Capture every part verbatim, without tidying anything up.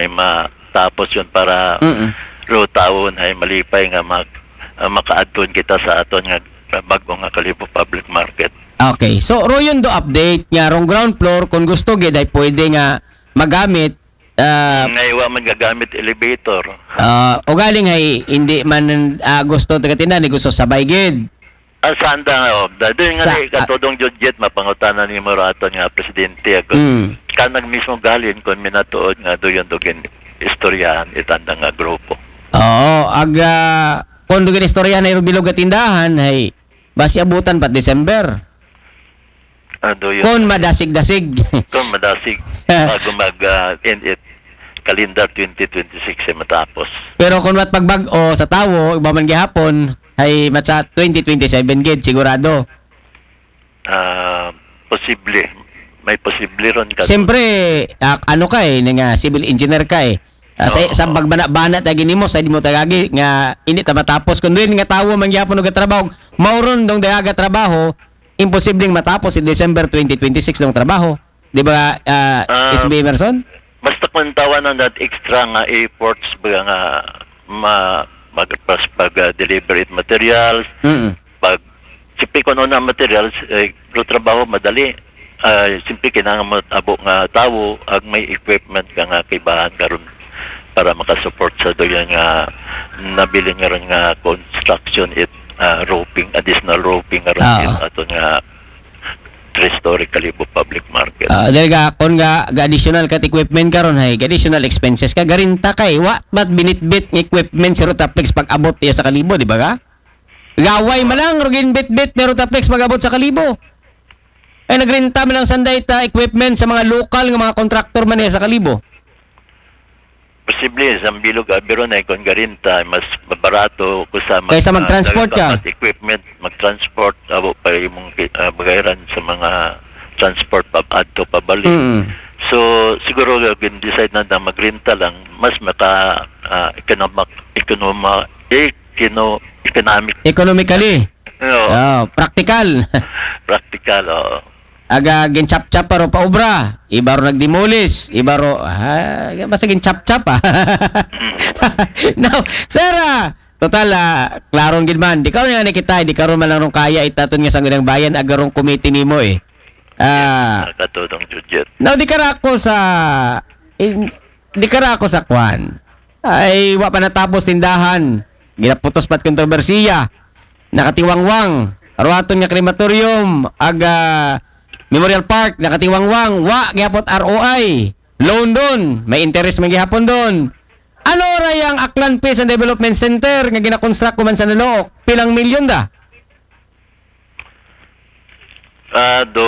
ay matapos yun para Mm. ro tawon ay malipay nga mag, ah, makaadton kita sa aton nga bag-o nga Kalibo Public Market. Okay. So, ro yun do update nga rong ground floor, kung gusto gid ay pwede nga magamit, ah, Nga iwa man gagamit elevator. ah, o galing ay hindi man, ah, gusto taga tindahan, gusto sabay gid. Ang sanda nga, oh, da- doon nga Sa- ni katudong Judget, mapangutana ni mo raton nga presidente ako. Mm. Kanag mismo galin kung minatuod nga doon doon istoryahan itanda nga grupo. Oo, ag ah, kung dugan istoryahan ay bilog at tindahan, ay basi abutan pa December. Ah, doon. Kung madasig-dasig. Kung madasig, bago mag ah, end it calendar twenty twenty-six ay matapos. Pero kung mat pagbag-o sa tawo, iba man gihapon, ay mat sa twenty twenty-seven gid, sigurado. Ah, posible. May posible ron ka. Siyempre, ah, ano ka eh, nga civil engineer ka eh. Ah, sa, Oo. sa pagbana-bana ta ginimo, sa di mo tagagi, nga hindi ta matapos. Kung doon nga tawo man gihapon og trabaho, mauron dong dayaga trabaho, imposibleng matapos si December twenty twenty-six dong trabaho. Di ba, ah, Ah, S B Emerson? Basta kung tawanan that extra nga efforts ba nga ma, mag, pas, pag ah, deliver it materials, Mm. pag sipi kuno na materials, eh, ro trabaho madali. Ah, simple kinahanglan mo abo nga tawo ag may equipment ka nga kaibahan karon para makasupport sa doon nga nabilin nga ron nga construction it ah, roofing, additional roofing nga ron Ah. it aton nga three-story Kalibo Public Market. Ah, dahil ga, kung ga, ga additional kat equipment karon hay, ga additional expenses ka, garinta kay, wa, ba't binitbit ng equipment si Rotaflex pag abot iya sa Kalibo, di ba ka? Gaway man lang, rugin bitbit ni Rotaflex pag abot sa Kalibo. Ay, nagrinta man lang sanday ta equipment sa mga lokal nga mga kontraktor man iya sa Kalibo. Posible, sa bilog abi ron ay kung garinta, mas mabarato ko sa mag, Kaysa ah, mag-transport ka. Dapat equipment, mag-transport, abo pa imong ki- ah, bagayran sa mga transport pa adto pabalik. Mm. So siguro gin-decide na na magrenta lang, mas maka ah, economic, economa, econo, economic. Economically. No, Oh, practical. Practical, oo. Aga ginchap-chap pa ro pa obra, iba ro nagdemolish, iba ro, ah, basta ginchap-chap ah. Now, sir, ah, total, ah, klarong gid man. Di karon nga ni kita, di karon man lang rong kaya itaton nga Sangguniang Bayan, aga rong committee nimo eh. Ah, Nakatulong, Judget. Now, di kara ako sa, in, di kara ako sa kwan. Ay, wa pa natapos tindahan. Ginaputos pa't kontrobersiya. Nakatiwangwang. Ruaton nga crematorium, aga Memorial Park, nakatiwangwang. Wa, gihapot R O I. Loan doon. May interest man gihapon doon. Ano ra yang Aklan Peace and Development Center nga ginakonstruct ko man sa Nalook? Pilang milyon da? Ah, do,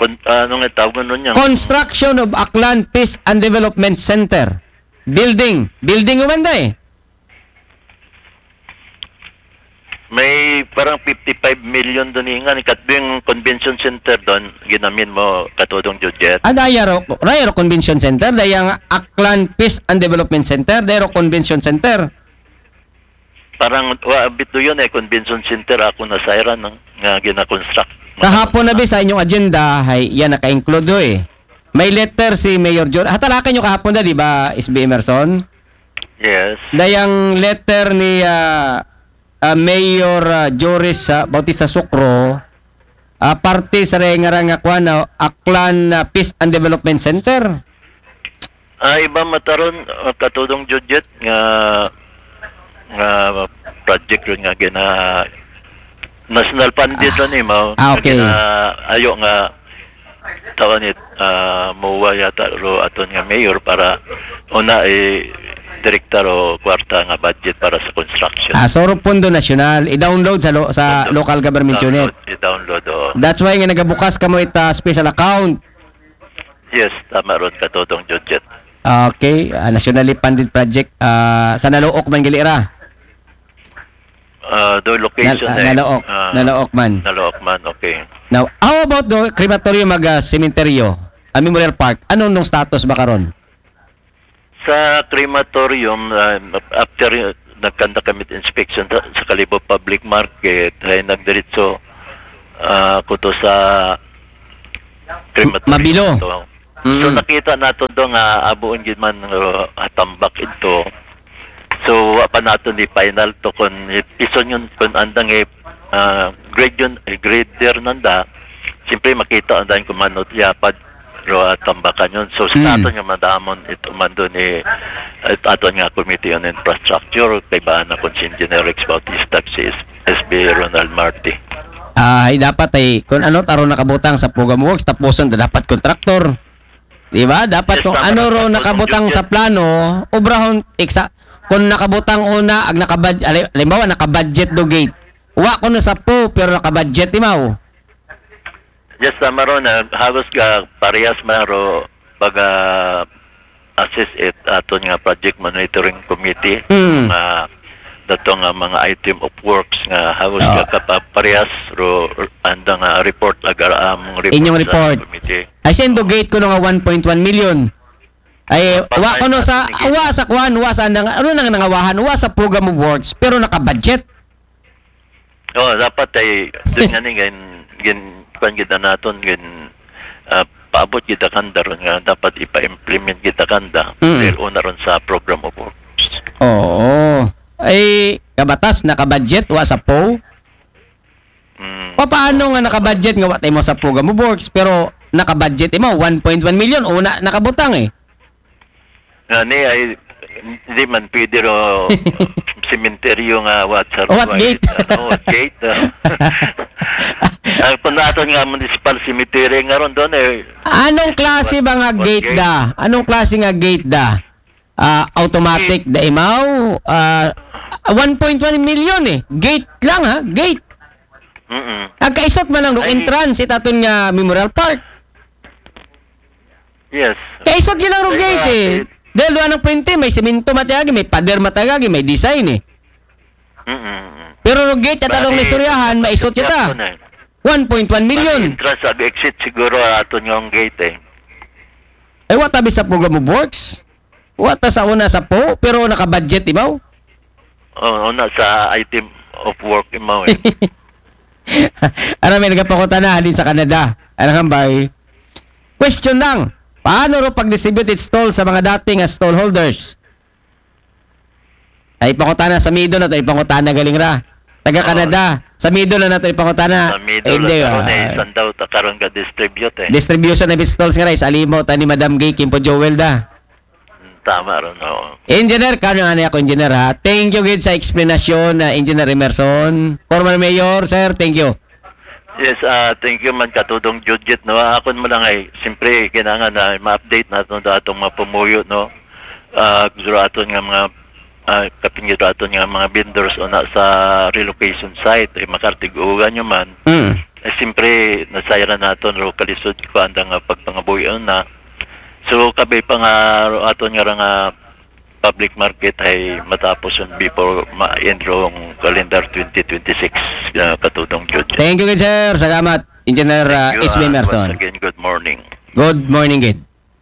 kun, ano nga tawag nun niya? Construction of Aklan Peace and Development Center. Building. Building man da eh. May parang fifty-five million doon nga. Katbing convention center doon, ginamin mo katudong Judget. Ah, dayaro, dayaro convention center, dayang Aklan Peace and Development Center, dayaro convention center. Parang, wa, bit doon eh, convention center ako na sa Iran, no? Nga ginakonstruct. Kahapon na bi sa inyong agenda, hay, yan naka-include do eh. May letter si Mayor Jor. Hatalakan nyo kahapon na, di ba, S B Emerson? Yes. Dayang letter ni ah, ah, Mayor ah, Joris ah, Bautista Sucro, ah, parte sa rengarang nga kwan, ah, Aklan ah, Peace and Development Center. Ah, iba mataron, ah, katudong Judget nga, nga project ron nga gina, national funded ron eh, mao. Ah, okay. Gina, ayo nga, tawag ni, ah, MOA yata ro aton nga mayor para una i direkta ro kwarta nga budget para sa construction. Ah, so, ro Pondo Nasyonal, i-download sa, lo- sa local government unit. I-download, oh. That's why nga nagabukas kamo ita special account. Yes, tama ron, katudong Judget. Okay, ah, nationally funded project. Ah, sa Nalook man gali ra. Ah, do location Nal- ah, eh. Nalook, Ah, Nalook man. Nalook man, okay. Now, how about the crematorium mag ah, cementerio? Ah, Memorial Park. Anong nung status ba karon? Sa crematorium, ah, after nagkanda kami inspection sa, sa Kalibo Public Market, ay nagdiretso ah, ko to sa crematorium. Mabilo. To. So Mm. nakita nato do nga abuon gid man, uh, atambak ito. So wa pa nato ni final to kon ipiso yun kon andang i, uh, grade yun, i-grader nanda. Siyempre makita andan kung mano yapad ro atambakan yun. So sa Mm. aton nga madamon ito man doon ni, it aton nga Committee on Infrastructure, kay ba na kon si Engineer Rex Bautista, si S- SB Ronald Marti. Ah, ay dapat ay kung ano taro nakabutang sa program works, tapuson na dapat kontraktor. Di ba? Dapat Yes, kung tama, ano ro dapat nakabutang kung sa plano, obrahon, eksa, kung nakabutang una, ag nakabad, ali- halimbawa, nakabudget do gate. Wa ko na sa po, pero nakabudget, imaw. Yes, tama ron. Ah, halos ka parehas man ro pag, ah, assist it aton nga project monitoring committee, Mm. nga dato nga mga item of works nga halos Oo. ka kapaparehas ro anda nga report agar among report Inyong sa report. Committee. Ay, sendo gate ko nga one point one million. Ay, Pag wa may ko no sa, natin, wa sa kwan, wa sa nang, ano nang nangawahan, wa sa program of works, pero nakabudget. Oh, dapat ay dun nga ni gin gin kwan gid naton gin, ah, paabot gid kanda ron nga dapat ipa-implement gid kanda Mm. dahil una ron sa program of works. Oo. Ay, kabatas, nakabudget, wa sa po. Mm. Pa, paano nga nakabudget nga wa tayo mo sa program of works, pero nakabudget mo, one point one million, una nakabutang eh. Nga ni ay hindi man pwede ro sementeryo nga what sa What gate? Ano, what gate? Ah. Ang panaton nga municipal cemetery nga ron doon eh. Anong klase ba nga What gate gate? da? Anong klase nga gate da? Ah, automatic da imaw? Ah, one point one million eh. Gate lang ha, gate. Mm. Ang kaisot man lang ng Ay. Entrance itaton nga Memorial Park. Yes. Kaisot yun lang ng Ay, gate eh. bakit? Dahil doon ang pwente, may simento matagagi, may pader matagagi, may design eh. Mm. Pero ng gate at atong Bali, istoryahan, maisot kita. Yun eh. One point one Bali, million. Entrance sa exit siguro aton yung gate eh. Ay, wa tabi sa program of works. Wa ta sa una sa po, pero nakabudget imaw. Oh, una sa item of work imaw eh. Ara may nagapakutana din sa Canada. Anong hambay? Question lang. Paano ro pag-distribute it stall sa mga dating nga stall holders? Ay pangutana sa Mido na to, ay pangutana galing ra. Taga Oo. Canada. Sa Mido na nato ay pangutana. Sa middle Hindi, na karon ah, eh, sandaw ta karon ga-distribute eh. Distribution of it stalls nga rice. Alimo, tani Madam Gay, Kimpo Joel da. Tama ron, oo. Engineer, kano nga niya ako, engineer, ha? Thank you gid sa explanation na Engineer Emerson. Former Mayor, sir, thank you. Yes, ah, thank you man Katudong Judgit, no. Ako mo lang ay, siyempre, kinangan na ma-update naton da atong mga pumuyo, no. Ah, gusto aton nga mga, ah, kapin gusto aton nga mga vendors o na sa relocation site, eh, makartigugan nyo man. Mm. Eh, siyempre, nasayran naton ro kalisod ko anda nga pagpangabuyon na. So, kabi pa nga ro aton nga ra nga public market ay matapos yun before ma-end rong calendar twenty twenty-six, ah, Katudong Judge. Thank you, good sir. Salamat, Engineer uh, Thank you, Isme ah, Emerson. Once again, good morning. Good morning, gid.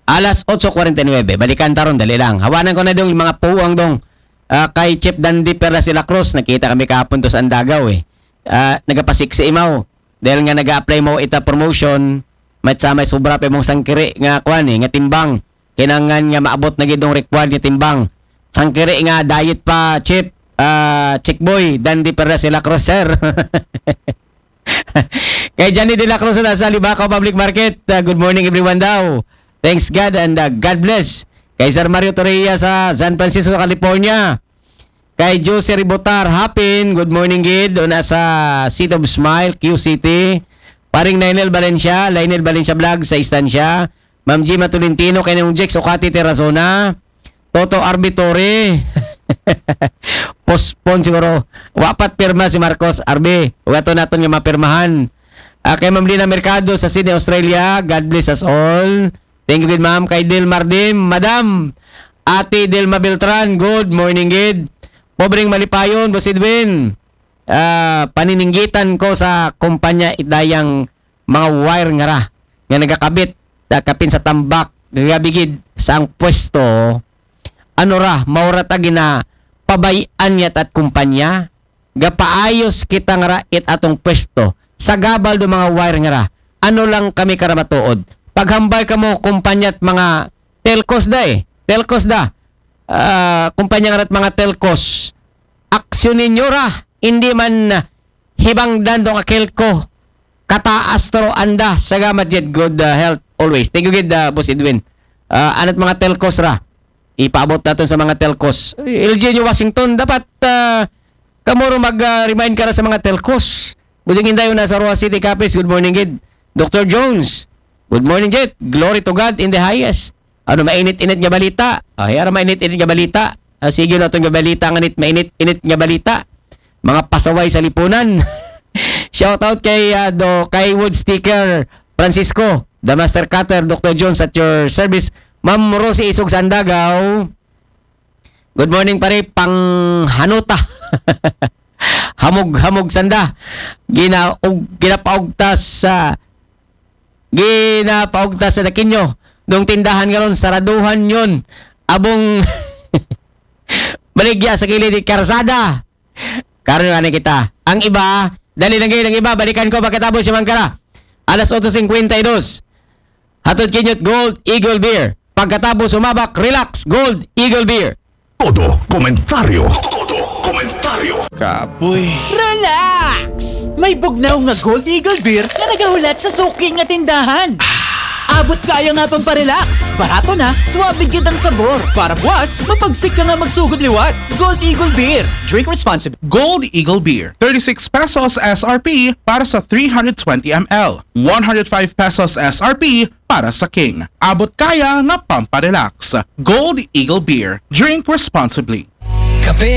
Alas otso kuwarenta y nuebe. Balikan ta ron, dali lang. Hawanan ko na dong mga puwang dong. Ah, kay Chief Dandy Perla Sila Cruz, nakita kami kahapon to sa Andagaw eh. Ah, nagapasiksi imaw. Dahil nga nag-apply mo ita promotion, may sa may sobra pa mong sangkiri nga kwan eh, nga timbang. Kinangan nga maabot na gid ang required nga timbang. Sangkiri nga diet pa, Chief, ah, Chick Boy, Dandy Perla Sila Cruz, sir. Kay Johnny De La Cruz na sa Libacao Public Market. Ah, good morning everyone daw. Thanks God and ah, God bless. Kay Sir Mario Torreya sa San Francisco, California. Kay Jose Ribotar Hapin, good morning gid. Una sa Seat of Smile, Q City. Paring Lionel Valencia, Lionel Valencia Vlog sa Estancia. Ma'am Gima Tolentino, kay Nong Jex Okati Terrazona. Toto Arbi Torre. Postpone siguro. Wapat pirma si Marcos Arbi. Ugato naton nga mapirmahan. Ah, kay Ma'am Lina Mercado sa Sydney, Australia. God bless us all. Thank you, good ma'am. Kay Del Mardim, Madam. Ate Delma Beltran, good morning, gid. Pobreng Malipayon, Boss Edwin. Ah, panininggitan ko sa kumpanya itdayang mga wire nga ra nga nagakabit da kapin sa tambak gagabigid sa ang pwesto, ano ra, maura ta gina pabayan niya tat kumpanya, gapaayos kita nga ra it atong pwesto sa gabal do mga wire nga ra. Ano lang kami karamatuod, Paghambal kamo kumpanya at mga telcos da eh. Telcos da. Ah, kumpanya nga at mga telcos. Aksyon ninyo ra. Hindi man hibangdan tong akelko. Kataas to anda. Salamat jud. Good uh, health always. Thank you gid, uh, Boss Edwin. Uh, anat mga telcos ra. Ipaabot natin sa mga telcos. L G N U Washington, dapat uh, kamuro mag-remind ka na sa mga telcos. Budjing Inday na sa Roa City, Capiz. Good morning gid. Doctor Jones. Good morning, Jet. Glory to God in the highest. Ano, mainit-init nga balita? Ah, yara mainit-init nga balita. Ah, sige na itong balita nga nit, mainit-init nga balita. Mga pasaway sa lipunan. Shout out kay, ah, do, kay Wood Sticker Francisco, the Master Cutter, Doctor Jones at your service. Ma'am Rosie Isog Sandagaw. Good morning, pare. Panghanuta. Hamog-hamog sanda. Gina, og, ginapaugtas sa ginapaugtas sa Dakinyo. Nung tindahan nga ron, saraduhan yon. Abong baligya sa kilid ni Karsada. Karon nga na kita. Ang iba, dali lang kayo ng iba. Balikan ko pagkatapos si Mangkara. Alas otso singkwenta y dos. Hatod kinyot Gold Eagle Beer. Pagkatapos sumabak, relax, Gold Eagle Beer. Todo komentaryo. Todo komentaryo. Kapoy. Relax! May bugnaw nga Gold Eagle Beer nga nagahulat sa suki nga tindahan. Abot kaya nga pang parelax. Barato na, swabe gid ang sabor. Para buwas, mapagsik ka nga magsugod liwat. Gold Eagle Beer. Drink responsibly. Gold Eagle Beer, thirty-six pesos S R P para sa three hundred twenty M L, one hundred five pesos S R P para sa King. Abot kaya nga pamparelax. Gold Eagle Beer. Drink responsibly. Kape